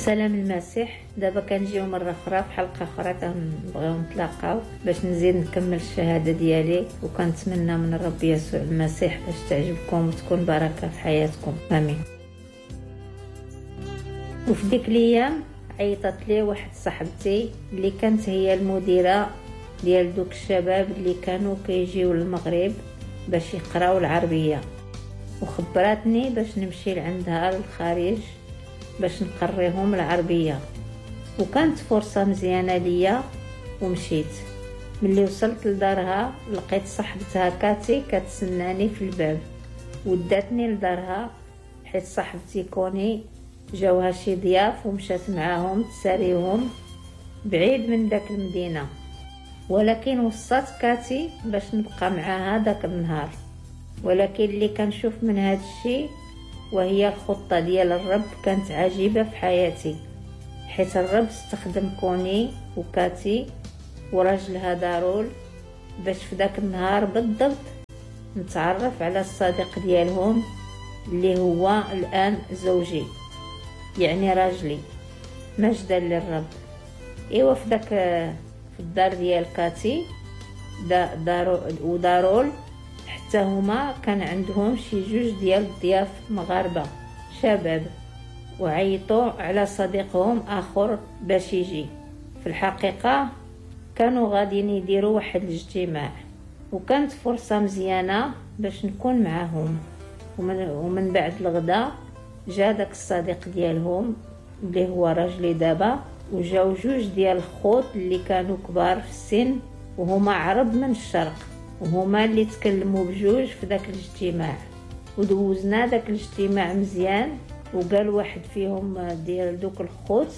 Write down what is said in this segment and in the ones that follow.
سلام المسيح. دابا كنجيو مرة اخرى في حلقة اخرى، كنبغيو نتلاقاو باش نزيد نكمل الشهادة ديالي، وكنتمنى من الرب يسوع المسيح باش تعجبكم وتكون بركة في حياتكم، امين. وفي ديك الايام عيطت لي واحد صاحبتي اللي كانت هي المديرة ديال دوك الشباب اللي كانوا كيجيو للمغرب باش يقراو العربية، وخبرتني باش نمشي لعندها للخارج باش نقريهم العربية، وكانت فرصة مزيانة ليا ومشيت. ملي وصلت لدارها لقيت صاحبتها كاتي كتسناني في الباب، وداتني لدارها حيت صاحبتي كوني جاوها شي ضياف ومشات معاهم تساريهم بعيد من داك المدينة، ولكن وصات كاتي باش نبقى معاها داك النهار. ولكن اللي كنشوف من هاد الشيء وهي الخطة ديال الرب كانت عجيبة في حياتي، حيت الرب استخدم كوني وكاتي وراجلها دارول باش في داك النهار بالضبط نتعرف على الصديق ديالهم اللي هو الآن زوجي، يعني راجلي. مجدا للرب. ايوا في داك في الدار ديال كاتي ودارول حتى هما كان عندهم شي جوج ديال الضياف مغاربة شباب، وعيطوا على صديقهم اخر باش يجي. في الحقيقة كانوا غاديين يديروا واحد الاجتماع، وكانت فرصة مزيانه باش نكون معاهم. ومن بعد الغداء جا داك الصديق ديالهم اللي هو راجلي دابا، وجاو جوج ديال الخوت اللي كانوا كبار في السن وهما عرب من الشرق، وهما اللي تكلموا بجوج في داك الاجتماع. ودوزنا داك الاجتماع مزيان، وقال واحد فيهم ديال دوك الخوت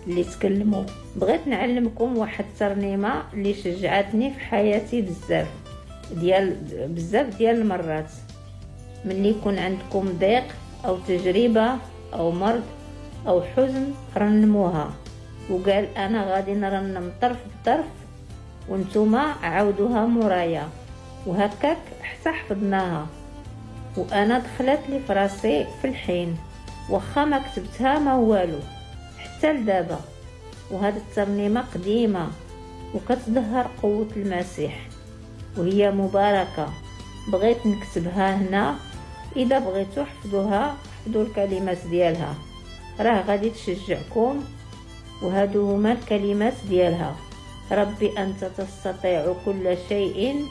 اللي تكلموا: بغيت نعلمكم واحد الترنيمة اللي شجعتني في حياتي بزاف ديال بزاف ديال المرات. ملي يكون عندكم ضيق او تجربه او مرض او حزن رنموها. وقال: انا غادي نرنم طرف بطرف وانتوما عاودوها مورايا. وهكاك حتى حفظناها، وانا دخلت لي فراسي في الحين، واخا ما كتبتها ما والو حتى لدابا. وهاد الترنيمة قديمة وكتظهر قوة المسيح وهي مباركة. بغيت نكتبها هنا، اذا بغيتو حفظوها، حفظوا الكلمات ديالها، راه غادي تشجعكم. وهادو هما الكلمات ديالها: ربي أنت تستطيع كل شيء،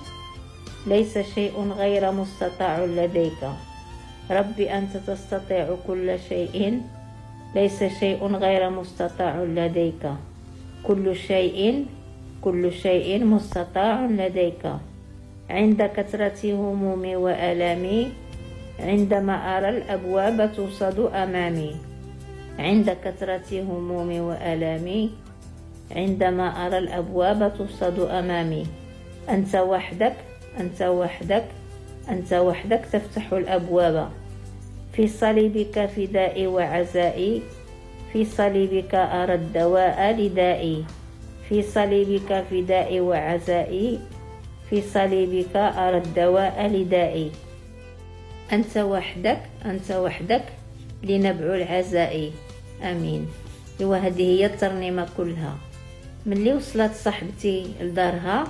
ليس شيء غير مستطاع لديك. ربي أنت تستطيع كل شيء، ليس شيء غير مستطاع لديك. كل شيء، كل شيء مستطاع لديك. عند كثرة همومي وآلامي، عندما أرى الأبواب توصد أمامي. عند كثرة همومي وآلامي، عندما أرى الأبواب توصد أمامي. أنت وحدك، أنت وحدك، أنت وحدك تفتح الأبواب. في صليبك فدائي وعزائي، في صليبك أرى الدواء لدائي. في صليبك فدائي وعزائي، في صليبك أرى الدواء لدائي. أنت وحدك، أنت وحدك لنبع العزاء. آمين. وهذه هي الترنيمة كلها. ملي وصلت صاحبتي لدارها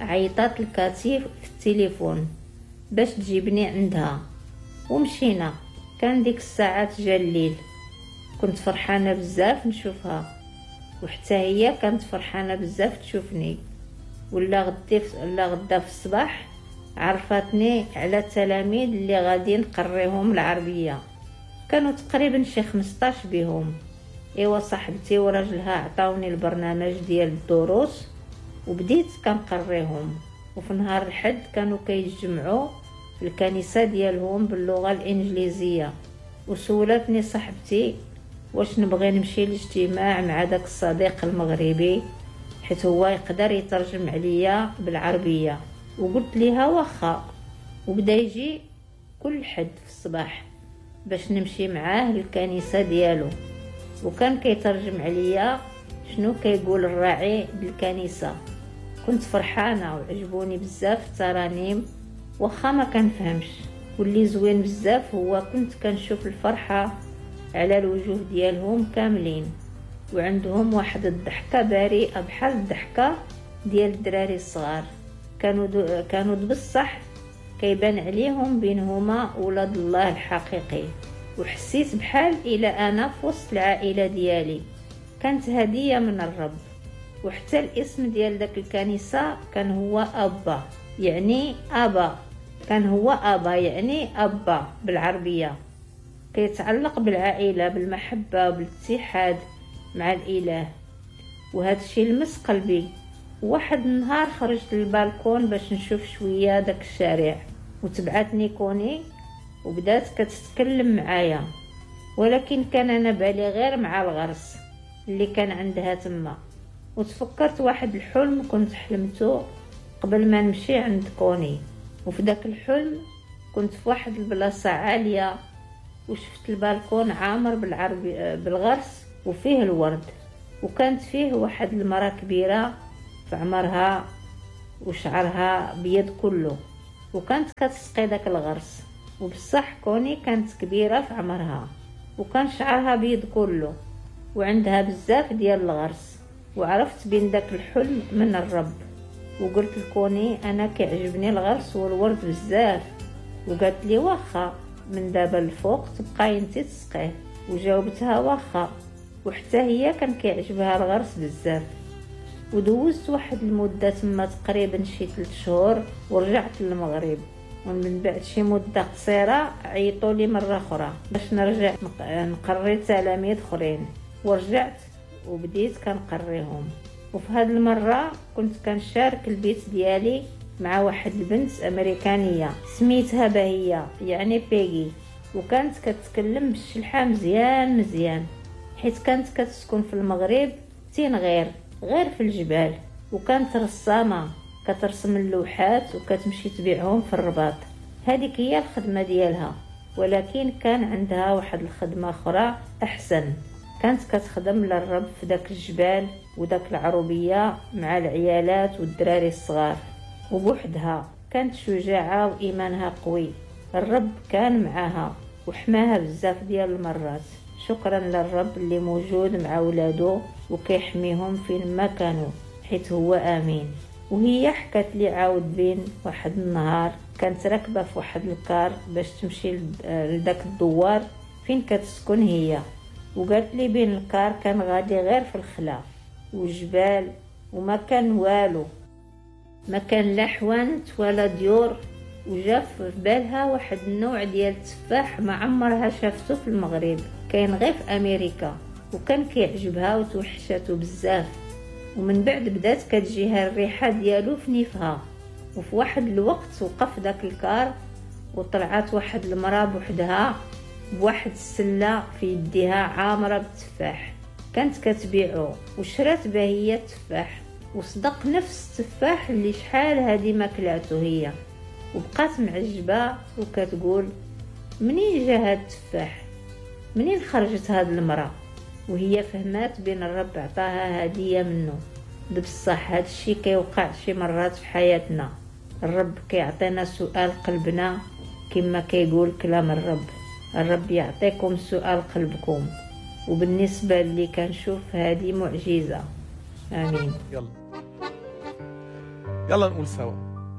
عيطات الكاتي في التليفون باش تجيبني عندها، ومشينا. كان ديك الساعات جا الليل، كنت فرحانة بزاف نشوفها، وحتى هي كانت فرحانة بزاف تشوفني. ولا غدا في الصباح عرفتني على التلاميذ اللي غادي نقريهم العربية، كانوا تقريبا شي 15 بهم. ايوا صاحبتي وراجلها عطاوني البرنامج ديال الدروس وبديت كنقريهم. وفي نهار الحد كانوا كيتجمعوا في الكنيسة ديالهم باللغة الانجليزية. وسولتني صاحبتي واش نبغي نمشي للاجتماع مع داك الصديق المغربي حيت هو يقدر يترجم عليا بالعربية، وقلت ليها واخا. وبدا يجي كل حد في الصباح باش نمشي معاه للكنيسة ديالو، وكان كيترجم عليا شنو كيقول الراعي بالكنيسة. كنت فرحانة وعجبوني بزاف الترانيم واخا ما كنفهمش. واللي زوين بزاف هو كنت كنشوف الفرحة على الوجوه ديالهم كاملين، وعندهم واحد الضحكة بريئة بحال الضحكة ديال الدراري الصغار. كانوا بصح كيبان عليهم بينهما ولاد الله الحقيقي، وحسيت بحال إلى أنا في وسط العائلة ديالي. كانت هدية من الرب. وحتى الاسم ديال داك الكنيسة كان هو أبا، يعني أبا، كان هو أبا يعني أبا بالعربية، كيتعلق بالعائلة، بالمحبة، بالاتحاد مع الإله. وهذا الشيء لمس قلبي. واحد النهار خرجت للبالكون باش نشوف شوية داك الشارع، وتبعتني كوني وبدات كتتكلم معايا، ولكن كان أنا بالي غير مع الغرس اللي كان عندها تما. وتفكرت واحد الحلم كنت حلمته قبل ما نمشي عند كوني. وفي داك الحلم كنت في واحد البلاصة عالية، وشفت البالكون عامر بالغرس وفيه الورد، وكانت فيه واحد المرأة كبيرة في عمرها وشعرها بيض كله، وكانت كتسقي داك الغرس. وبصح كوني كانت كبيرة في عمرها وكان شعرها بيض كله وعندها بزاف ديال الغرس. وعرفت بين داك الحلم من الرب، وقلت لكوني أنا كيعجبني الغرس والورد بزاف، وقالت لي واخا من دابا الفوق تبقاي انت تسقيه، وجاوبتها واخا. وحتى هي كان كيعجبها الغرس بزاف. ودوزت واحد المدة تما تقريبا شي 3 شهور ورجعت للمغرب. ومن بعد شي مدة قصيرة عيطوا لي مرة أخرى باش نرجع نقري تلاميذ أخرين، ورجعت وبديت كنقريهم. وفي هذه المرة كنت كنشارك البيت ديالي مع واحد البنت أمريكانية سميتها باهية، يعني بيجي، وكانت كتكلم بالشلحة مزيان مزيان، حيت كانت كتسكن في المغرب تين غير في الجبال، وكانت رسامة كترسم اللوحات وكتمشي تبيعهم في الرباط. هذيك هي الخدمة ديالها، ولكن كان عندها واحد الخدمة أخرى أحسن. كانت كتخدم للرب في داك الجبال وداك العروبية مع العيالات والدراري الصغار وبوحدها. كانت شجاعة وإيمانها قوي، الرب كان معاها وحماها بزاف ديال المرات. شكرا للرب اللي موجود مع ولادو وكيحميهم فين ما كانوا، حيت هو آمين. وهي حكت لي عاود بين واحد النهار كانت راكبة في واحد الكار باش تمشي لداك الدوار فين كتسكن هي، وقالت لي بين الكار كان غادي غير في الخلا وجبال وما كان والو، ما كان لا حوانت ولا ديور. وجا في بالها واحد النوع ديال التفاح ما عمرها شافته في المغرب، كاين غير في امريكا، وكان كيعجبها وتوحشاتو بزاف. ومن بعد بدات كتجيها الريحه ديالو في نيفها. وفي واحد الوقت وقف داك الكار وطلعت واحد المراه بوحدها بواحد السله في يديها عامره بالتفاح، كانت كتبيعو، وشرات بهيه التفاح، وصدق نفس التفاح اللي شحال هادي ما كلاتو هي. وبقات معجبه وكتقول منين جا هاد التفاح، منين خرجت هاد المراه؟ وهي فهمات بين الرب عطاها هديه منه. بصح هاد الشي كيوقع شي مرات في حياتنا، الرب كيعطينا سؤال قلبنا كما كيقول كلام الرب، الرب يعطيكم سؤال قلبكم. وبالنسبه اللي كنشوف هذه معجزه. امين. يلا يلا نقول سوا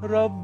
رب